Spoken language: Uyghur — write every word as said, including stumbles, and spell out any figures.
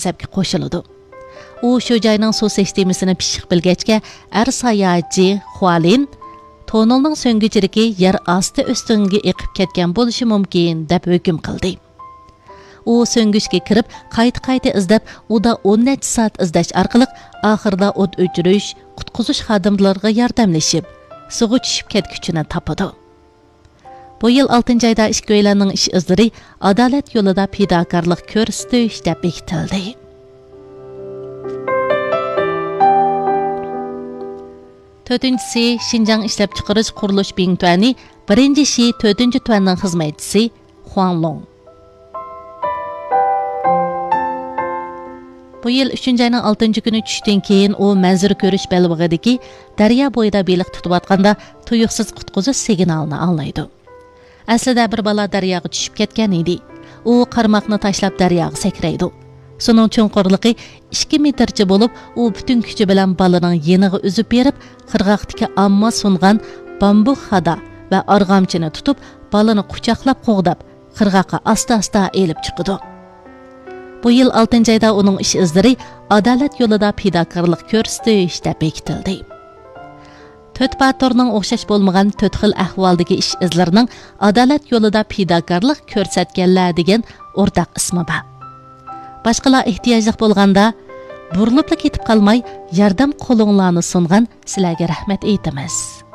مەكتەپكە قوشۇلىدۇ. ئۇ شۇ جاينىڭ سۇ سىستېمىسىنى پىششىق بىلگەچكە، ئەر ساياھەتچى خۇالىن تونېلنىڭ سۆڭگۈچىلىكى يەر ئاستى ئۆستىڭىگە ئېقىپ كەتكەن بولۇشى مۇمكىن، دەپ ھۆكۈم قىلدى. ئۇ سۆڭگۈچكە كىرىپ، قايتا-قايتا ئىزدەپ، ئۇدا ئون نەچچە سائەت ئىزدەش ئارقىلىق، ئاخىرىدا ئوت ئۆچۈرۈش، قۇتقۇزۇش خادىملىرىغا ياردەملىشىپ، سۇغا چۈشۈپ كەتكۈچىنى تاپىدۇ. بۇ يىل ئالتىنچى ئايدا ئىككىيلەننىڭ ئىش ئىزلىرى ئادالەت يولىدا پىداكارلىق كۆرسىتىش دەپ بېكىتىلدى. تۆتىنچىسى، شىنجاڭ ئىشلەپچىقىرىش قۇرۇلۇش بىڭتۈەنى بىرىنچى شى تۆتىنچى تۈەننىڭ خىزمەتچىسى خۇاڭ لوڭ. بۇ يىل ئۈچىنچى ئاينىڭ ئالتىنچى كۈنى چۈشتىن كېيىن ئۇ مەنزىرە كۆرۈش بەلبېغىدىكى دەريا بويىدا بېلىق تۇتۇۋاتقاندا تۇيۇقسىز قۇتقۇزۇش سىگنالىنى ئاڭلايدۇ. ئەسلىدە بىر بالا دەرياغا چۈشۈپ كەتكەن ئىدى. ئۇ قارماقنى تاشلاپ دەرياغا سەكرەيدۇ. سۇنىڭ چوڭقۇرلۇقى ئىككى مېتىرچە بولۇپ، ئۇ پۈتۈن كۈچى بىلەن بالىنىڭ يېنىغا ئۈزۈپ بېرىپ، قىرغاقتىكى ئامما سۇنغان بامبۇك خادا ۋە ئارغامچىنى تۇتۇپ، بالىنى قۇچاقلاپ قوغداپ، قىرغاققا ئاستا-ئاستا ئېلىپ چىقىدۇ. بۇ يىل ئالتىنچى ئايدا ئۇنىڭ ئىش ئىزلىرى ئادالەت يولىدا پىداكارلىق كۆرسىتىش دەپ بېكىتىلدى. تۆت باتۇرنىڭ ئوخشاش بولمىغان تۆت خىل ئەھۋالدىكى ئىش ئىزلىرىنىڭ ئادالەت يولىدا پىداكارلىق كۆرسەتكەنلەر دېگەن ئورتاق ئىسمى بار. باشقىلار ئېھتىياجلىق بولغاندا، بۇرۇلۇپلا كېتىپ قالماي، ياردەم قولۇڭلارنى سۇنغان سىلەرگە رەھمەت ئېيتىمىز.